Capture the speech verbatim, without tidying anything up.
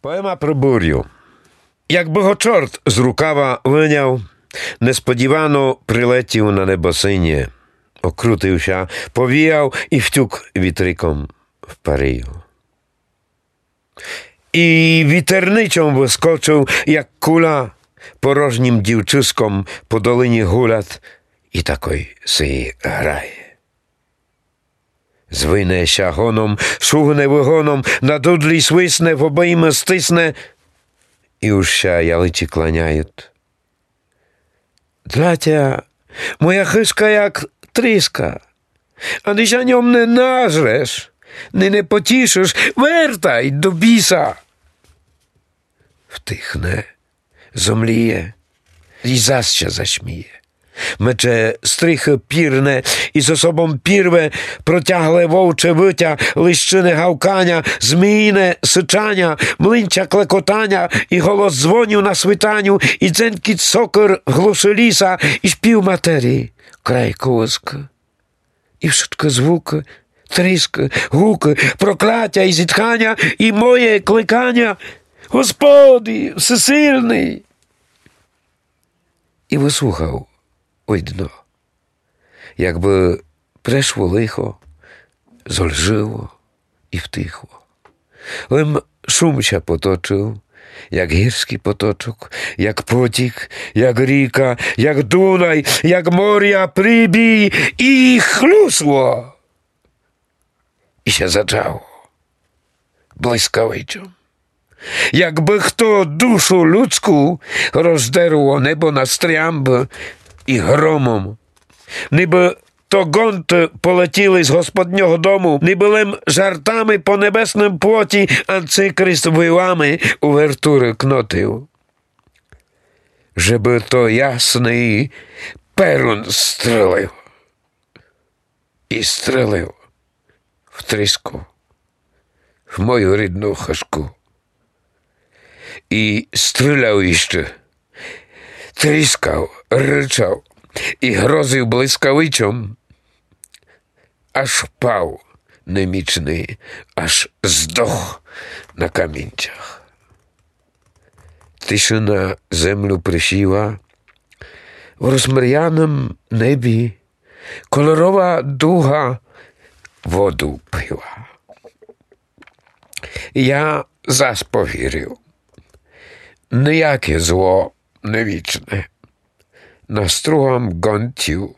Поема про бурю. Якбы го чорт з рукава выняв, несподівано прилетів на небо синє, окрутив ся, повіяв і втюк вітриком в парию. І вітерничом выскочив, як куля, порожнім дівчыском по долині гулят і такой си грає. Звине ся гоном, шугне выгоном, на дудлі свисне, в обоймы стисне, і уж ся яличі кланяют. Для тя моя хыжка як тріска, ани ся ньом не нажреш, ни не потішиш, вертай до біса. Втихне, зомліє і зась ся зашміє. Мече стріхы пірне і з собом пірве, протягле вовче вытя, лищыне гавканя, змійне сычаня, млинча клекотаня і голос дзвоню на свитаню, і дзенькіт сокыр в глуши ліса, і шпів матері край колыскы. І вшыткы звукы, тріскы, гукы, проклятя і зітханя, і моє кликаня: Господи, всесильный! І выслухав, видно, якбы прешло лихо, зольжило і втихло. Лем шум ся поточив, як гірськый поточок, як потік, як ріка, як Дунай, як моря прибій, і хлюсло. І ся зачало блискавичом. Якбы хто душу людську роздерло небо на стрямбы і громом. Нибы то гонты полетіли з господнього дому, нибы лем жартами по небесным плоті анцикрист вилами увертуры кнотив. Жебы то ясный перун стрелив. І стрелив в тріску, в мою рідну хыжку. І стріляв іщы, тріскав, рычав і грозив блискавичом, аж впав немічный, аж здох на камінцях. Тишина землю присіла, в розмряным небі кольорова дуга воду пила. Я зас повірив, ніяке зло не вічне. Настругам гонтів